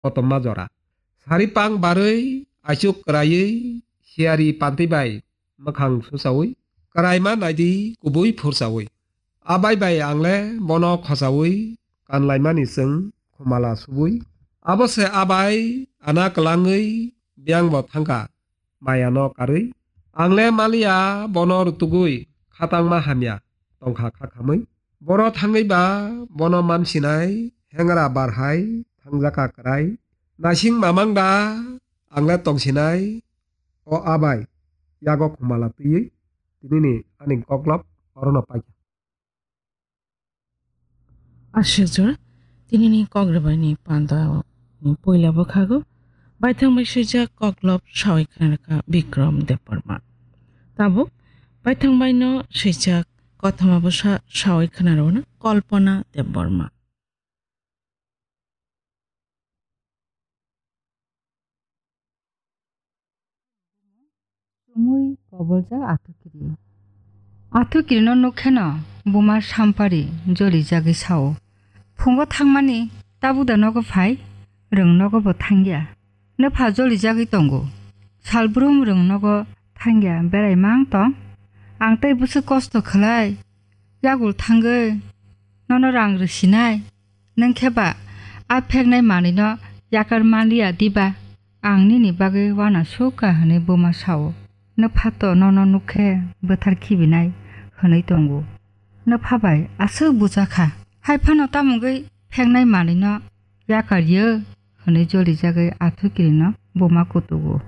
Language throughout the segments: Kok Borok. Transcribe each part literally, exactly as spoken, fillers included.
kotomma jora. Sari pang barwi aichuk kwraiwi siyari pantwi bai mwkhang suchaui kwraima naidi kubui phurchaui. Abai bai angle bono khochaui kanlaimani chwng khumala subui. Abo se abai ana kwlangwi biyangbo thangkha mayano karwi. Angle maliya bono rutugui khatangma hamya tongkha khakhamwi. Boro thangwi ba bono mansinai hengra barhai thangjaka kwrai. Naising mamang da angle tongsinai o abai yago khumala twiwi tinini ani koklop orono paikha. Aswk jora tinini kok rwbaini panda ni puila bwkhago baithang bai swijak koklop sawi khnarwkha Bikram Debbarma. Tabuk baithang baino swijak kothoma bwsa sawi khnarwna Kalpana Debbarma. Chumui koboljak Athukiri. Athukirino nukkheno buma Sampari jolijagwi sao, "Phungo thangmani tabukda nogo phai, rwng nogobo thangya. Nwpha jolijagwi tongo. Salbrum rwng nogo thangya, berai mang tong. Ang tei bwswk kosto khlai, yagul thangwi nono rang rwsinai. Nwng khe ba a pheknai manwino yakar manliya diba? Ang nini bagwi uanasuk kha," hwnwi buma sao. "Nwpha to nono nuk khe bwthar khibinai hwnwi tongo. Nwpha bai aswk bucha kha. Hai phano tamo wngwi pheknai manwino yakar yo?" hwnwi jolijagwi Athukirino buma kutugo.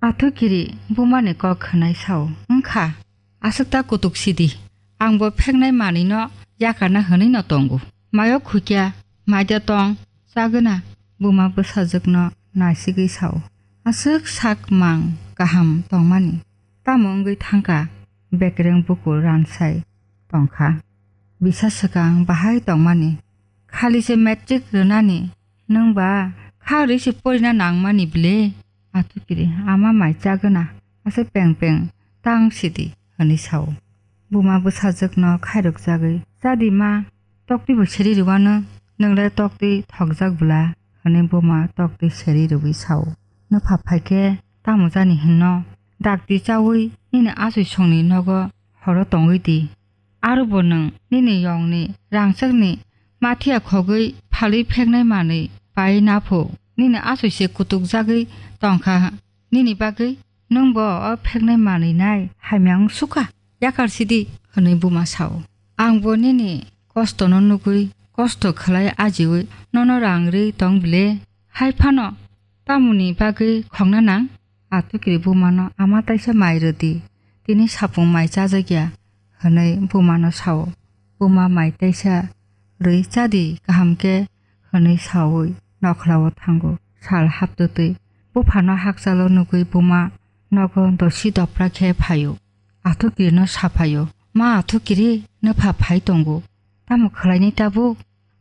Athukiri bumani kok khwnai sao, "Wngkha, aswk ta kutuk sidi. Angbo pheknai manwino yakarna hwnwino tongo. Mayo khukya, maida tong, chagwna." Buma bwsajwkno naisigwi sao, "Aswk sak mang kaham tongmani. Tamo wngwi thangkha, bekereng bukur ransai tongkha. Bisa swkang bahai tongmani. Khali se matric rwnani, nwng ba kha rwi se porina nangmani bile?" Athukiri, "Ama mai chagwna, ase peng peng tang sidi," hwnwi sao. Buma bwsajwkno khairokjagwi, "Chadi ma, tokti bo seri rwano, nwng le tokti thokjak bwla," hwnwi buma tokti seri rwgwi sao. "Nwpha phaikhe tamo jani hinno, dakti chaui nini achoi songni nogo horo tongwi di. Aro bo nwng nini yongni rangchakni mathiya khogwi phalwi pheknai manwi pai naphu, nini achoi se kutukjagwi tongkha nini bagwi. Nwng bo o pheknai manwi nai hamya wng sukha? Yakar sidi," hwnwi buma sao. "Ang bo nini kosto no nugwi kosto khlai ajiwi nono rang rwi tong bile? Hai phano tamoni bagwi khongna nang?" Athukiri bumano, "Ama taisa mai rwdi, tini sapung mai chajakya," hwnwi bumano sao. Buma mai taisa rwi, "Chadi kaham khe," hwnwi saui nokhlao thango. Sal haptwtwi buphano hakchalo nugwi buma nogo dosi dopra khe phaio. Athukirino saphaio, "Ma Athukiri, nwpha phai tongo. Tamo khlainai tabuk?"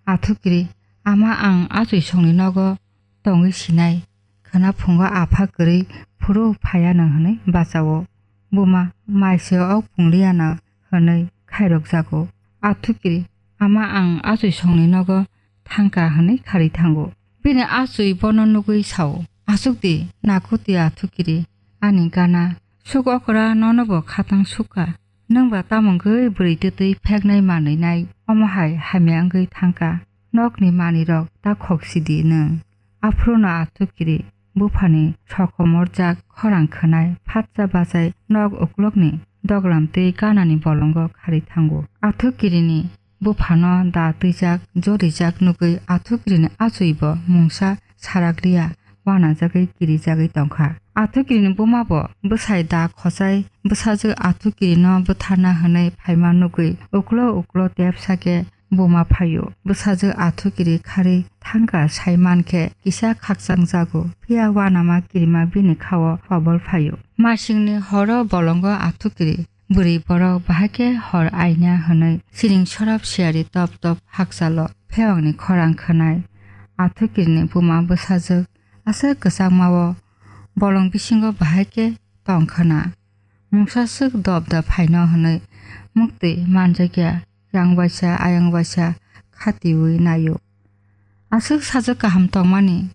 Athukiri, "Ama, ang achoi songni nogo tongwi sinai. Khwna phungo apha kwrwi phuru phaiya nang," hwnwi bachao. Buma, "Mai se ok phungliyano," hwnwi khairokjago. Athukiri, "Ama, ang achoi songni nogo thangkha," hwnwi kharwi thango. Bini achoi bono nugwi sao, "Achukdi, nakuti Athukiri, ani gana suk okra nono bo khatang sukha. Nwng ba tamo wngwi bwrwi twtwi pheknai manwi nai, omo hai hamya wngwi thangkha. Nokni manwirok ta khok sidi nwng." Aphuru no Athukiri buphani sokomorjak khorang khwnai phatsa bachai nok uklokni doglam tei ganani bolongo kharwi thango. Athukirini buphano da twijak, jorijak nugwi Athukirini achwibo mungsa sarakliya, uanajagwi kirijagwi tongkha. Athukirini bumabo bwsai da khochai bwsajwk Athukirino bwtharna hwnwi phaima nugwi uklo uklo tepsa khe buma phaio. Bwsajwk Athukiri kharwi thangkha sai mankhe kisa khakchangjago, phiya uanama kirima bini khao hobol phaio. Masingni horo bolongo Athukiri bwrwi borok bahai khe hor aina hwnwi siring sorap siyari top top hakchalo phewangni khorang khwnai. Athukirini buma bwsajwk aswk kwchangmao bolong bisingo bahai khe tong khwna. Mungsa swk dopda phaino hwnwi muktwi manjakya, yang waisa ayang waisa khatiwi naio. Aswk sajwk kaham tongmani